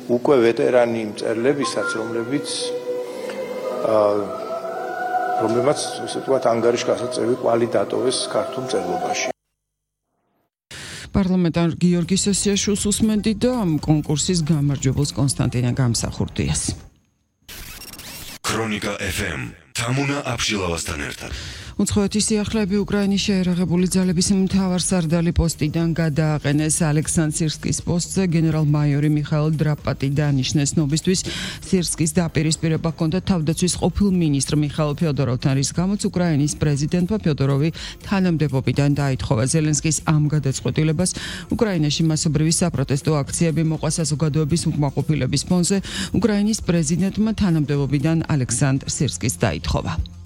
უკვე ვეტერანი მწერლებისაც, რომლებმაც ისე თქვათ ანგარიშგასაწევი კვალი დატოვეს ქართულ მწერლობაში. პარლამენტარ გიორგი სესიაშვილს უსმენდი და ამ კონკურსის გამარჯვებულს კონსტანტინე გამსახურდიას. ქრონიკა FM თამუნა აბშილავასთან ერთად. უცხოეთის სიახლეები უკრაინის შეერაღებული ძალების მთავარსარდალი პოსტიდან გადააყენეს. ალექსანდრ სირსკის პოსტზე გენერალ-მაიორი მიხაილ დრაპატი დანიშნეს. ნობისთვის სირსკის დაპირისპირება ჰქონდა თავდაცვის ყოფილ მინისტრ მიხაილ ფიოდოროვთან, რის გამოც უკრაინის პრეზიდენტმა ფიოდოროვი თანამდებობიდან დაითხოვა. ზელენსკის ამ გადაწყვეტილებას უკრაინაში მასობრივი საპროტესტო აქციები მოყვა. საზოგადოების უკმაყოფილების ფონზე უკრაინის პრეზიდენტმა თანამდებობიდან ალექსანდრ სირსკის დაითხოვა.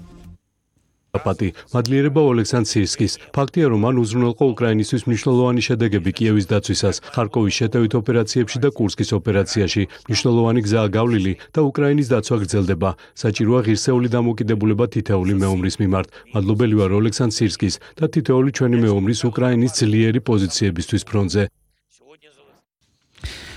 Drapati მადლიერება ალექსანდრ სირსკის. ფაქტია, რომ მან უზრუნველყო უკრაინისთვის მნიშვნელოვანი შედეგები კიევის დაცვისას, ხარკოვის შეტევით ოპერაციებში და კურსკის ოპერაციაში. მნიშვნელოვანი გზაა გავლილი და უკრაინის დაცვა გრძელდება. საჭიროა ღირსეული დამოკიდებულება თითოეული მეომრის მიმართ. მადლობელი ვარ ალექსანდრ სირსკის და თითოეული ჩვენი მეომრის უკრაინის ძლიერი პოზიციებისთვის ფრონტზე.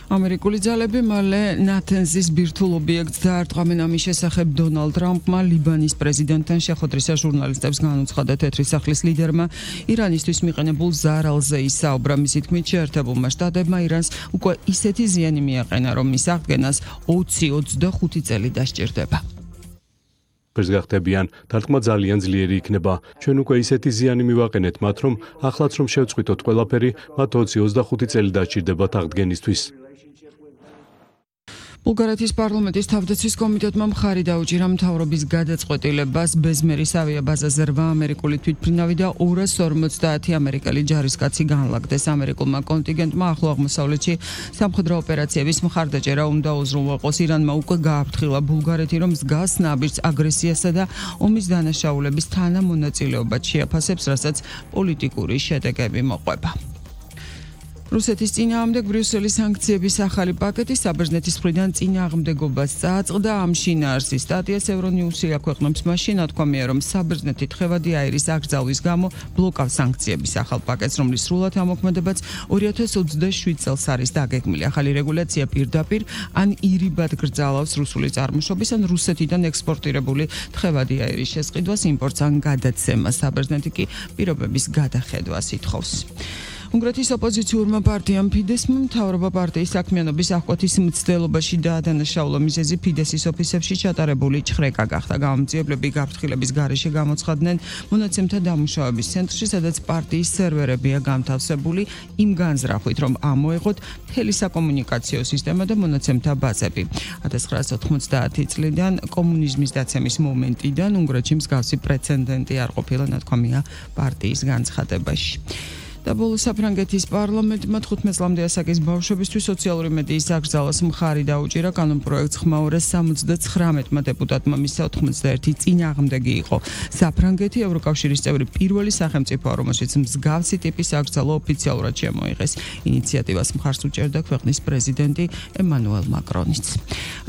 ამერიკული ძალები მალე ნათენზის ბირთვულ ობიექტს დაარტყამენ. ამის შესახებ დონალდ ტრამპმა ლიბანის პრეზიდენტთან შეხვედრისას ჟურნალისტებს განუცხადა. თეთრი სახლის ლიდერმა ირანისთვის მიყენებულ ზარალზე ისაუბრა. მისი თქმით, შეერთებულმა შტატებმა ირანს უკვე ისეთი ზიანი მიაყენა, რომ მის აღდგენას 20-25 წელი დასჭირდება. გახდებიან, დარტყმა ძალიან ძლიერი იქნება. ჩვენ უკვე ისეთი ზიანი მივაყენეთ მათ, რომ ახლაც რომ შევწყვიტოთ ყველაფერი, მათ 20-25 წელი დასჭირდებათ აღდგენისთვის. ბულგარეთის პარლამენტის თავდაცვის კომიტეტმა მხარი დაუჭირა მთავრობის გადაწყვეტილებას ბეზმერის ავიაბაზაზე 8 ამერიკული თვითმფრინავი და 250 ამერიკელი ჯარისკაცი განლაგდეს. ამერიკულმა კონტინგენტმა ახლო აღმოსავლეთში სამხედრო ოპერაციების მხარდაჭერა უნდა უზრუნველყოს. ირანმა უკვე გააფრთხილა ბულგარეთი, რომ მსგავს ნაბიჯს აგრესიასა და ომის დანაშაულების თანამონაწილეობად შეაფასებს, რასაც პოლიტიკური შედეგები მოყვება. რუსეთის წინააღმდეგ ბრიუსელის სანქციების ახალი პაკეტი საბერძნეთის მხრიდან წინააღმდეგობას წააწყდა. ამ შინაარსის სტატიას ევრონიუსი აქვეყნებს. მაშინ ნათქვამია, რომ საბერძნეთი თხევადი აირის აკრძალვის გამო ბლოკავს სანქციების ახალ პაკეტს, რომლის სრულად ამოქმედებაც 2027 წელს არის დაგეგმილი. ახალი რეგულაცია პირდაპირ ან ირიბად გრძალავს რუსული წარმოშობის ან რუსეთიდან ექსპორტირებული თხევადი აირის შესყიდვას, იმპორტს ან გადაცემას. საბერძნეთი კი პირობების გადახედვას ითხოვს. უნგრეთის ოპოზიციურმა პარტიამ ფიდესმა მთავრობა პარტიის საქმიანობის აღკვეთის მცდელობაში დაადანაშაულა. მიზეზი ფიდესის ოფისებში ჩატარებული ჭხრეკა გახდა. გამომძიებლები გაფრთხილების გარეშე გამოცხადდნენ მონაცემთა დამუშავების ცენტრში, სადაც პარტიის სერვერებია განთავსებული იმ განზრახვით, რომ ამოეღოთ მთელი საკომუნიკაციო სისტემა და მონაცემთა ბაზები. 1990 წლიდან კომუნიზმის დაცემის მომენტიდან უნგრეთში მსგავსი პრეცედენტი არ ყოფილა, ნათქვამია პარტიის განცხადებაში. და ბოლოს საფრანგეთის პარლამენტმა 15 წლამდე ასაკის ბავშვებისთვის სოციალური მედიის აკრძალვას მხარი დაუჭირა. კანონპროექტს ხმაურეს 79-მა დეპუტატმა, მისსა 91 წინააღმდეგი იყო. საფრანგეთი ევროკავშირის წევრი პირველი სახელმწიფოა, რომელშიც მსგავსი ტიპის აკრძალვა ოფიციალურად შემოიღეს. ინიციატივას მხარს უჭერდა ქვეყნის პრეზიდენტი ემანუელ მაკრონიც.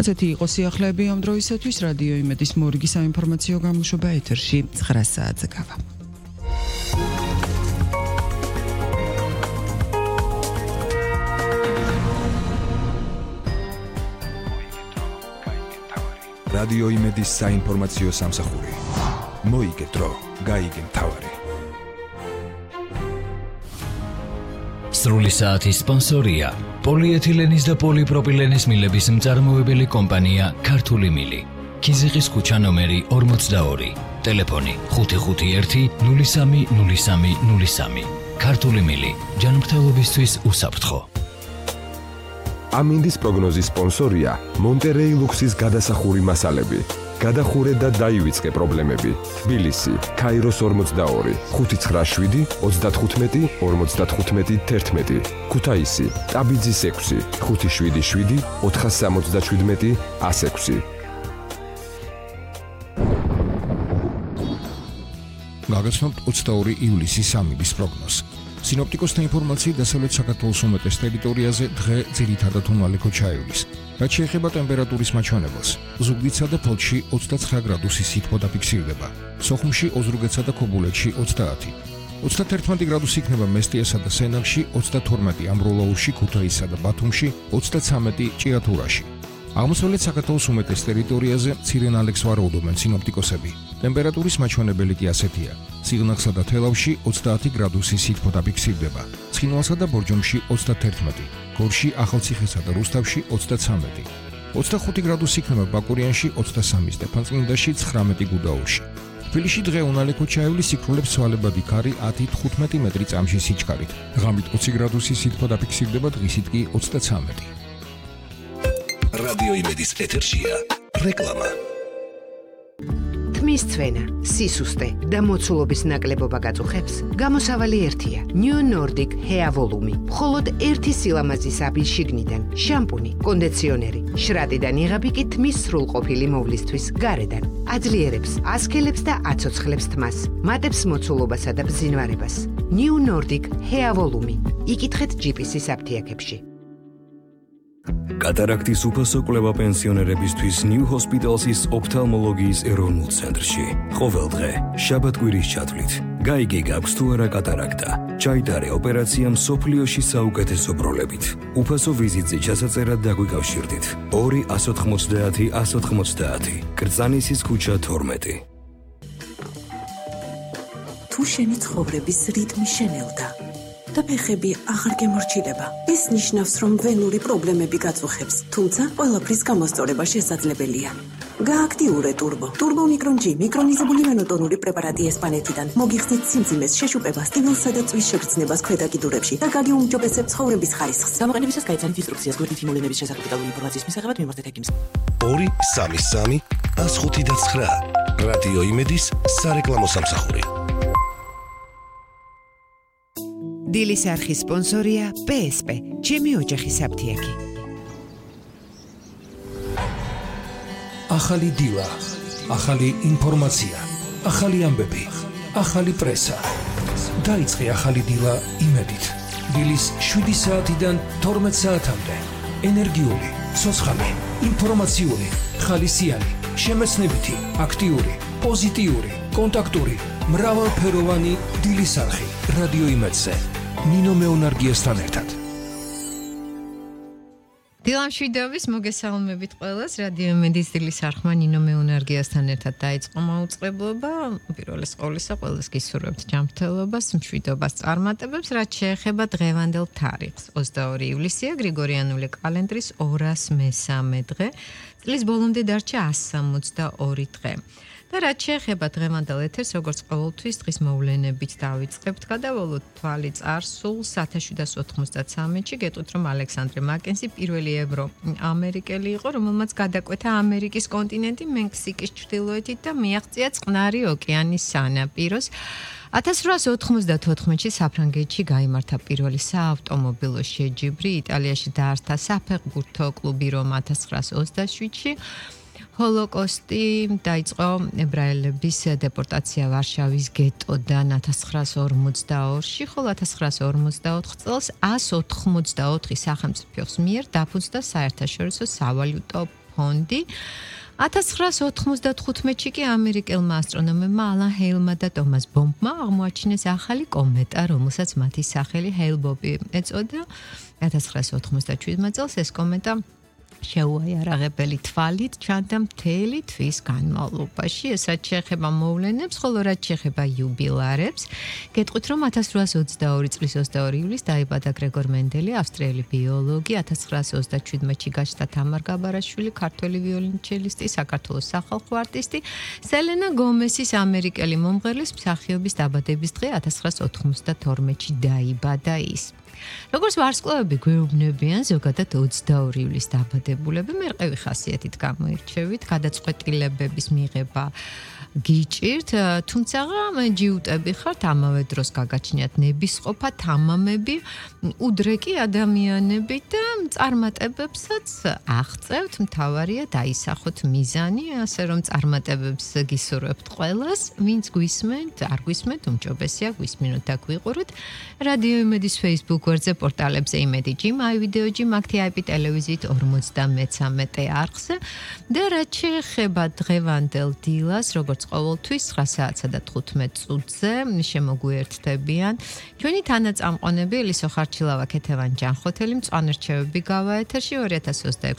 ასეთი იყო სიახლეები ამ დროისათვის. რადიო იმედის მორიგი საინფორმაციო გამოშვება ეთერში 9 საათზე გავა. რადიო იმედის საინფორმაციო სამსახური. მოიგე დრო, გაიგე მთავარი. სრული საათის სპონსორია პოლიეთილენის და პოლიპროპილენის მილების მწარმოებელი კომპანია ქართული მილი. ქიზიყის ქუჩა ნომერი 42. ტელეფონი 551 03 03 03. ქართული მილი. ჯანმრთელობისთვის უსაფრთხო. ამინდის პროგნოზის სპონსორია მონტერეი ლუქსის გადასახური მასალები. გადახურე და დაივიწყე პრობლემები. თბილისი, ქაიროს 42, 597, 35, 55, 11. ქუთაისი, ტაბიძის 6, 577, 477, 106. გაგაცნობთ 22 ივლისის ამიდის პროგნოზს. სინოპტიკოსთა ინფორმაციით დასავლეთ საქართველოს უმეტეს ტერიტორიაზე დღე ძირითადად უმალე ქოჩაევის. რაც შეეხება ტემპერატურის მაჩვენებელს, ზუგდიდსა და ფოთში 29 გრადუსი სითბო დაფიქსირდება. სოხუმში, ოზურგეთსა და ქობულეთში 30. 31 გრადუსი იქნება მესტიასა და სენაკში, 32 ამბროლაურში, ქუთაისსა და ბათუმში, 33 ჭიათურაში. აღმოსავლეთ საქართველოს უმეტეს ტერიტორიაზე მცირე ნალექს ვარაუდობენ სინოპტიკოსები. ტემპერატურის მაჩვენებელი კი ასეთია: სიღნაღსა და თელავში 30 გრადუსი სითბო დაფიქსირდება, ცხინვალსა და ბორჯომში 31, გორში, ახალციხესა და რუსთავში 23, 25 გრადუსი იქნება ბაკურიანში, 23 სტეფანწმინდაში, 19 გუდაურში. თბილისში დღე უნალექო ჩაივლის სიკვდილებს ცვალებადი ქარი 10-15 მეტრი წამში სიჩქარით. ღამით 20 გრადუსი სითბო დაფიქსირდება, დღისით კი 33. რადიო იმედის ეთერშია რეკლამა. თმის ცვენა, სისუსტე და მოცულობის ნაკლებობა გაწუხებს, გამოსავალი ერთია: New Nordic Hair Volume. მხოლოდ ერთი სილამაზის აბის შიგნიდან, შამპუნი, კონდიციონერი, შრატიდან იღები კი თმის სრულყოფილი მოვლისთვის გარედან. აძლიერებს, ასქელებს და აცოცხლებს თმას, მატებს მოცულობასა და ბზინვარებას. New Nordic Hair Volume. იკითხეთ GPS-ის აფთიაქებში. კატარაქტის უფასო კვლევა პენსიონერებისთვის New Hospital's ოფთალმოლოგიის ეროვნულ ცენტრში. ყოველდღე, შაბათ-კვირის ჩათვლით. გაიგე გაქვს თუ არა კატარაქტა. ჩაიტარე ოპერაცია მსოფლიოში საუკეთესო პროლებით. უფასო ვიზიტზე ჩასაწერად დაგვიკავშირდით. 2-190-190. კრწანისის ქუჩა 12. თუ შენი ცხოვრების რიტმი შენელდა და ფეხები აღარ გემორჩილება, ეს ნიშნავს, რომ ვენური პრობლემები გაწუხებს, თუმცა ყველაფრის გამოსწორება შესაძლებელია. გააქტიურე ტურბო. ტურბო მიკრონ G მიკრონიზებული ვენოტონური პრეპარატი ესპანეთიდან. მოგიხსნით სიმძიმეს, შეშუპებას, ტივილსა და წვის შეგრძნებას ქვედა კიდურებში და გაგიუმჯობესებთ ცხოვრების ხარისხს. გამოყენებისას გაიცანით ინსტრუქციას გვერდით იმოვლენების შესახებ დეტალური ინფორმაციის მისაღებად მიმართეთ ექიმს. 2-3-3-105-9 რადიო იმედის სარეკლამო სამსახური. დილის არხის სპონსორია PSP, ჩემი ოჯახის აფთიაქი. ახალი დილა, ახალი ინფორმაცია, ახალი ამბები, ახალი პრესა. დაიწყე ახალი დილა იმედით. დილის 7 საათიდან 12 საათამდე. ენერგიული, ცოცხალი, ინფორმაციული, ხალისიანი, შემეცნებითი, აქტიური, პოზიტიური, კონტაქტური, მრავალფეროვანი დილის არხი რადიო იმედზე. ნინო მეუნარგიესთან ერთად. დილამშვიდობის მოგესალმებით ყველას. რადიო იმედის დილის არხმა ნინო მეუნარგიესთან ერთად დაიწყო მაუწყებლობა. პირველეს ყოვლისა ყველას გისურვებთ ჯანმრთელობას, მშვიდობას, წარმატებებს, რაც შეეხება დღევანდელ თარიღს. 22 ივლისია, გრიგორიანული კალენდრის 203 დღე. წლის ბოლომდე დარჩა 162 დღე. და რაც შეეხება დღევანდელ ეთერს, როგორც ყოველთვის დღის მოვლენებით დავიწყებთ. გადავალოთ თვალი წარსულს 1793-ში, გეტყვით, რომ ალექსანდრე მაკენზი პირველი ევროამერიკელი იყო, რომელმაც გადაკვეთა ამერიკის კონტინენტი მექსიკის ჩრდილოეთით და მიაღწია წყნარი ოკეანის სანაპიროს. 1894-ში საფრანგეთში გაიმართა პირველი საავტომობილო შეჯიბრი, იტალიაში დაარსდა საფეხბურთო კლუბი რომ 1927-ში. ჰოლოკოსტი დაიწყო ებრაელების დეპორტაცია ვარშავის გეტოდან 1942-ში, ხოლო 1944 წელს 184 სახელმწიფოს მიერ დაფუძნდა საერთაშორისო სავალუტო ფონდი. 1995-ში კი ამერიკელმა ასტრონომებმა ალან ჰეილმა და ტომას ბომბმა აღმოაჩინეს ახალი კომეტა, რომელსაც მათი სახელი ჰეილ-ბობი ეწოდა. 1997 წელს ეს კომეტა შეუიარაღებელი თვალით ჩანდა მთელი თვის განმავლობაში. ესაც შეეხება მოვლენებს, ხოლო რაც შეეხება იუბილარებს, გეტყვით, რომ 1822 წლის 22 ივლისს დაიბადა გრეგორ მენდელი, ავსტრიელი ბიოლოგი. 1937-ში გაჩნდა თამარ გაბარაშვილი, ქართველი ვიოლინჩელისტი, საქართველოს სახალხო არტისტი. სელენა გომესის ამერიკელი მომღერლის მსახიობის დაბადების დღე 1992-ში დაიბადა ის. როგორც ვარსკვლავები გვეუბნებიან, ზოგადად 22 ივლისს დაბადებულები მერყევი ხასიათით გამოირჩევით, გადაწყვეტილებების მიღება გიჭირთ, თუმცა ჯიუტები ხართ, ამავე დროს გაგაჩნიათ ნებისყოფა, თამამები, უდრეკი ადამიანები და წარმატებებსაც აღწევთ, მთავარია დაისახოთ მიზანი, ასე რომ წარმატებებს გისურვებთ ყველას, ვინც გვისმენთ, არ გვისმენთ, უმჯობესია გვისმინოთ და გვიყუროთ. რადიო იმედის Facebook გვერდზე, პორტალებზე იმედი ჯიმ, აი ვიდეო ჯიმ, აქტი IP ტელევიზიით 53 არხზე და რაც შეეხება დღევანდელ დილას, როგორც ყოველთვის 9 საათსა და 15 წუთზე შემოგვიერთდებიან ჩვენი თანაწამყონები ელისო ხარჩილავა, ქეთევან ჯანხოთელი, მწვანე რჩევები გავა ეთერში 2026